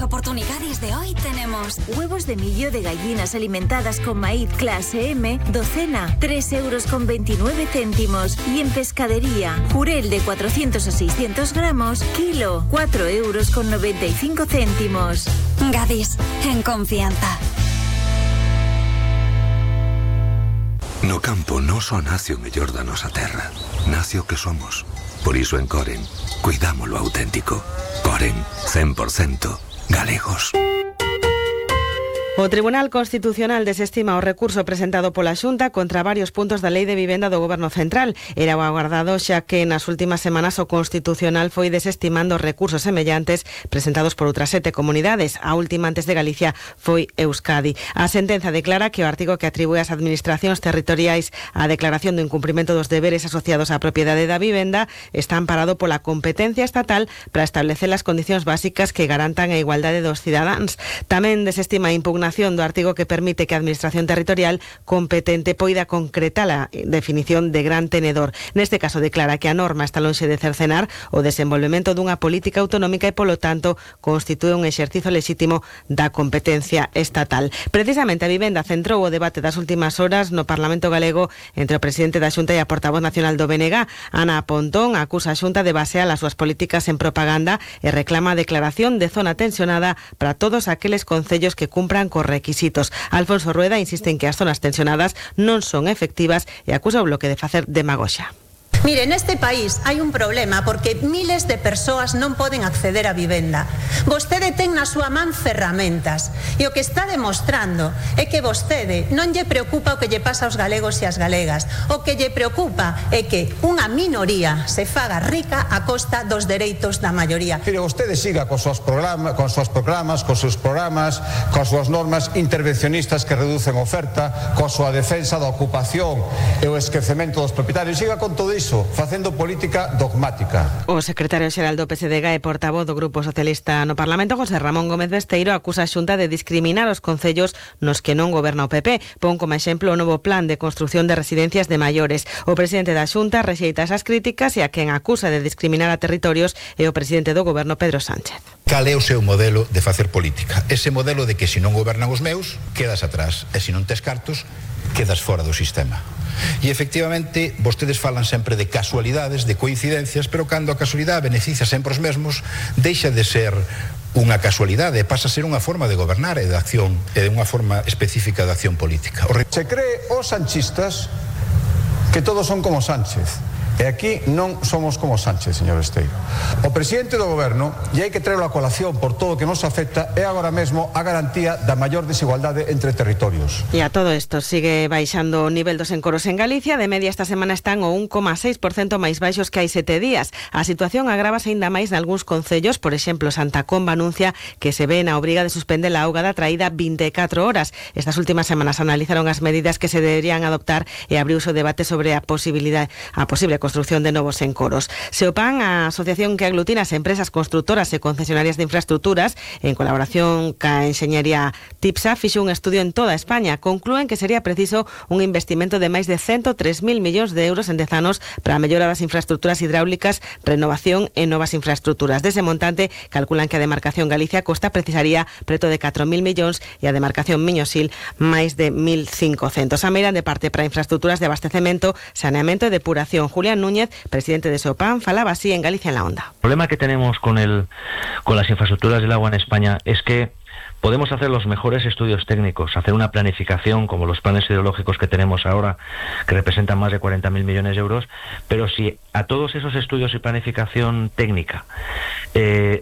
oportunidades de hoy tenemos huevos de millo de gallinas alimentadas con maíz clase M, docena, 3,29 €. Y en pescadería, jurel de 400 a 600 gramos, kilo, 4,95 €. Gadis, en confianza. No campo non só nace o mellor da nosa terra, nace o que somos. Por iso en Coren, cuidamos lo auténtico. Coren, 100% galegos. O Tribunal Constitucional desestima o recurso presentado pola Xunta contra varios puntos da Lei de Vivenda do Goberno Central. Era o agardado xa que nas últimas semanas o Constitucional foi desestimando recursos semellantes presentados por outras 7 comunidades. A última antes de Galicia foi Euskadi. A sentenza declara que o artigo que atribúe ás administracións territoriais a declaración do incumprimento dos deberes asociados á propiedade da vivenda está amparado pola competencia estatal para establecer as condicións básicas que garantan a igualdade dos cidadáns. Tamén desestima a impugnación do artigo que permite que a Administración Territorial competente poida concretar a definición de gran tenedor. Neste caso declara que a norma está lonxe de cercenar o desenvolvemento dunha política autonómica e, polo tanto, constitúe un exercizo lexítimo da competencia estatal. Precisamente a vivenda centrou o debate das últimas horas no Parlamento galego entre o presidente da Xunta e a portavoz nacional do BNG. Ana Pontón acusa a Xunta de basear as súas políticas en propaganda e reclama a declaración de zona tensionada para todos aqueles concellos que cumpran cos requisitos. Alfonso Rueda insiste en que as zonas tensionadas non son efectivas e acusa o Bloque de facer demagoxia. Mire, neste país hai un problema porque miles de persoas non poden acceder á vivenda. Vostede ten na súa man ferramentas e o que está demostrando é que vostede non lle preocupa o que lle pasa aos galegos e ás galegas. O que lle preocupa é que unha minoría se faga rica a costa dos dereitos da maioría. Pero vostede siga cos seus programas, coas súas normas intervencionistas que reducen oferta, coa súa defensa da ocupación e o esquecemento dos propietarios. Siga con todo iso, facendo política dogmática. O secretario xeral do PSDG e portavoz do Grupo Socialista no Parlamento, José Ramón Gómez Besteiro, acusa a Xunta de discriminar os concellos nos que non goberna o PP. Pon como exemplo o novo plan de construción de residencias de maiores. O presidente da Xunta rexeita esas críticas e a quen acusa de discriminar a territorios é o presidente do Goberno, Pedro Sánchez. Cal é o seu modelo de facer política? Ese modelo de que se non gobernan os meus, quedas atrás, e se non tes cartos, quedas fora do sistema. E efectivamente vostedes falan sempre de casualidades, de coincidencias, pero cando a casualidade beneficia sempre os mesmos, deixa de ser unha casualidade, pasa a ser unha forma de gobernar e de acción, e unha forma específica de acción política. Se cree os sanchistas que todos son como Sánchez. E aquí non somos como Sánchez, señor Besteiro. O presidente do goberno, e hai que traerlo a colación por todo o que nos afecta, é agora mesmo a garantía da maior desigualdade entre territorios. E a todo isto sigue baixando o nivel dos encoros en Galicia. De media esta semana están o 1,6% máis baixos que hai 7 días. A situación agrávase aínda máis nalgúns concellos. Por exemplo, Santa Comba anuncia que se ve na obriga de suspender a auga da traída 24 horas. Estas últimas semanas analizaron as medidas que se deberían adoptar e abriuse o debate sobre a posible construción de novos encoros. Seopan, a asociación que aglutina as empresas constructoras e concesionarias de infraestructuras, en colaboración ca enxeñería TIPSA, fixo un estudio en toda España. Conclúen que sería preciso un investimento de máis de 103.000 millóns de euros en 10 anos para a mellora das infraestructuras hidráulicas, renovación e novas infraestructuras. Dese montante, calculan que a demarcación Galicia Costa precisaría preto de 4.000 millóns e a demarcación Miñosil máis de 1.500. A meira de parte para infraestructuras de abastecemento, saneamento e depuración. Julián Núñez, presidente de Seopan, falaba así en Galicia en la Onda. El problema que tenemos con las infraestructuras del agua en España es que podemos hacer los mejores estudios técnicos, hacer una planificación como los planes hidrológicos que tenemos ahora, que representan más de 40.000 millones de euros, pero si a todos esos estudios y planificación técnica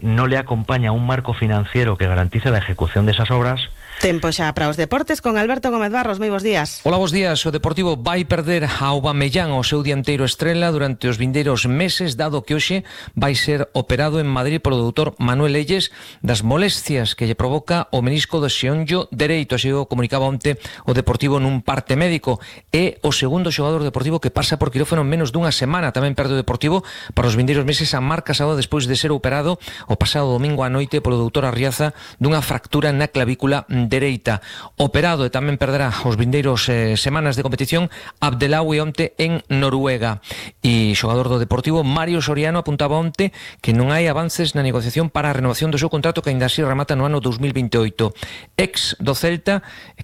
no le acompaña un marco financiero que garantice la ejecución de esas obras. Tempo xa para os deportes con Alberto Gómez Barros. Moi bons días. Hola, bons días. O Deportivo vai perder a Aubameyang, o seu dianteiro estrela, durante os vindeiros meses, dado que hoxe vai ser operado en Madrid polo doutor Manuel Leyes das molestias que lle provoca o menisco do xeonllo dereito. Así o comunicaba onte o Deportivo nun parte médico. É o segundo xogador deportivo que pasa por quirófano en menos dunha semana. Tamén perde o Deportivo para os vindeiros meses a Marc Casado despois de ser operado o pasado domingo á noite polo doutor Arriaza dunha fractura na clavícula dereita. Operado e tamén perderá os vindeiros semanas de competición Abdelawi onte en Noruega. E xogador do Deportivo Mario Soriano apuntaba onte que non hai avances na negociación para a renovación do seu contrato, que aínda así remata no ano 2028. Ex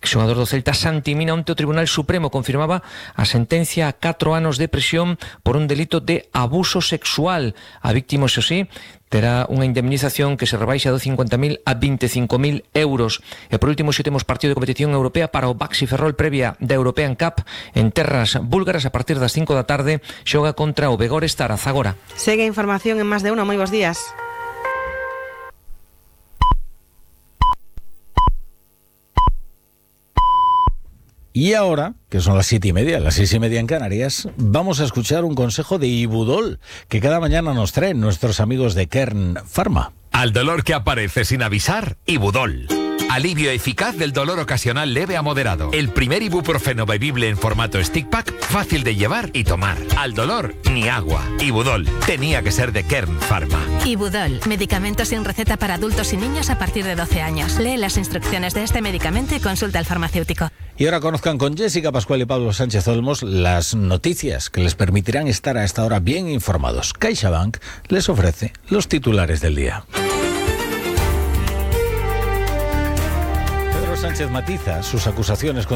xogador do Celta, Santi Mina, onte o Tribunal Supremo confirmaba a sentencia a 4 anos de prisión por un delito de abuso sexual. A víctima, xo sí, terá unha indemnización que se rebaixa de 50.000 a 25.000 euros. E por último, xe temos partido de competición europea para o Baxi Ferrol previa da European Cup en terras búlgaras a partir das 5 da tarde. Xoga contra o Begores Tarazagora. Segue a información en Más de Uno. Moi bons días. Y ahora, que son las 7:30, las 6:30 en Canarias, vamos a escuchar un consejo de Ibudol, que cada mañana nos traen nuestros amigos de Kern Pharma. Al dolor que aparece sin avisar, Ibudol. Alivio eficaz del dolor ocasional leve a moderado. El primer ibuprofeno bebible en formato stick pack, fácil de llevar y tomar. Al dolor, ni agua. Ibudol. Tenía que ser de Kern Pharma. Ibudol. Medicamento sin receta para adultos y niños a partir de 12 años. Lee las instrucciones de este medicamento y consulta al farmacéutico. Y ahora conozcan con Jessica Pascual y Pablo Sánchez Olmos las noticias que les permitirán estar a esta hora bien informados. CaixaBank les ofrece los titulares del día. Sánchez matiza sus acusaciones contra